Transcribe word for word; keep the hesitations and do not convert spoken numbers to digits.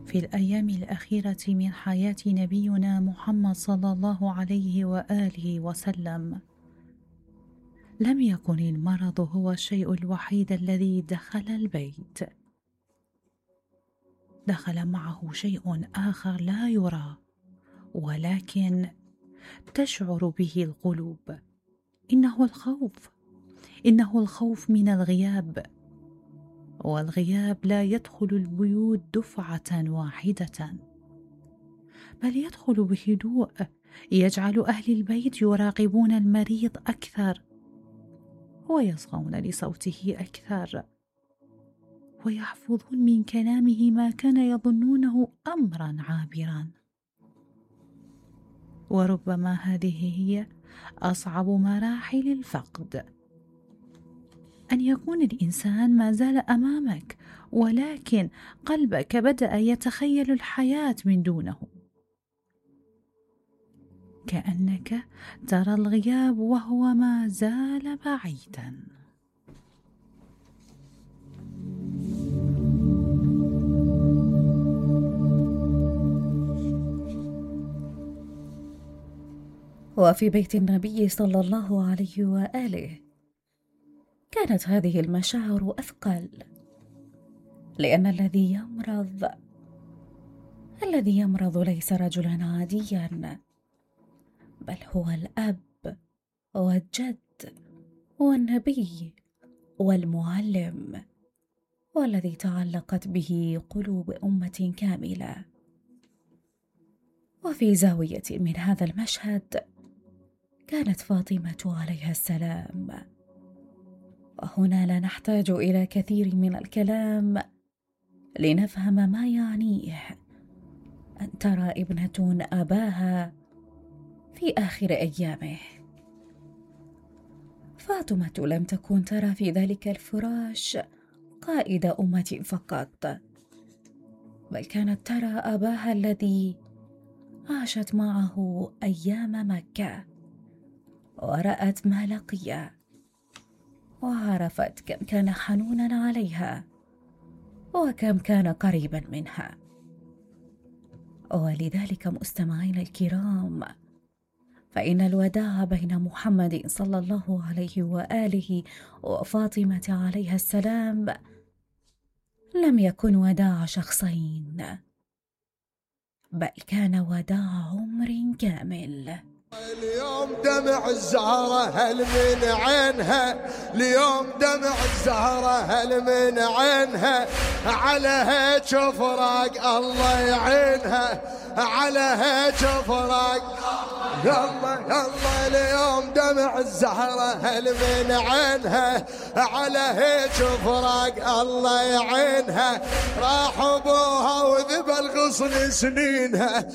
في الأيام الأخيرة من حياة نبينا محمد صلى الله عليه وآله وسلم لم يكن المرض هو الشيء الوحيد الذي دخل البيت، دخل معه شيء آخر لا يرى ولكن تشعر به القلوب، إنه الخوف، إنه الخوف من الغياب، والغياب لا يدخل البيوت دفعة واحدة، بل يدخل بهدوء يجعل أهل البيت يراقبون المريض أكثر ويصغون لصوته أكثر ويحفظون من كلامه ما كان يظنونه أمرا عابرا. وربما هذه هي أصعب مراحل الفقد، أن يكون الإنسان ما زال أمامك ولكن قلبك بدأ يتخيل الحياة من دونه، كأنك ترى الغياب وهو ما زال بعيدا. وفي بيت النبي صلى الله عليه وآله كانت هذه المشاعر أثقل، لأن الذي يمرض الذي يمرض ليس رجلا عاديا، بل هو الأب والجد والنبي والمعلم، والذي تعلقت به قلوب أمة كاملة. وفي زاوية من هذا المشهد كانت فاطمة عليها السلام، وهنا لا نحتاج إلى كثير من الكلام لنفهم ما يعنيه أن ترى ابنة أباها في آخر أيامه. فاطمة لم تكن ترى في ذلك الفراش قائد أمة فقط، بل كانت ترى أباها الذي عاشت معه أيام مكة ورأت ما لقي، وعرفت كم كان حنونا عليها وكم كان قريبا منها. ولذلك مستمعين الكرام، فإن الوداع بين محمد صلى الله عليه وآله وفاطمة عليها السلام لم يكن وداع شخصين، بل كان وداع عمر كامل. اليوم دمع الزهرة هل من عينها، اليوم دمع الزهرة هل من عينها، على هيك فراق الله يعينها، على هيك فراق يلا يلا. اليوم دمع الزهرة هل من عينها، على هيك فراق الله يعينها، راح ابوها وذبل غصن سنينها،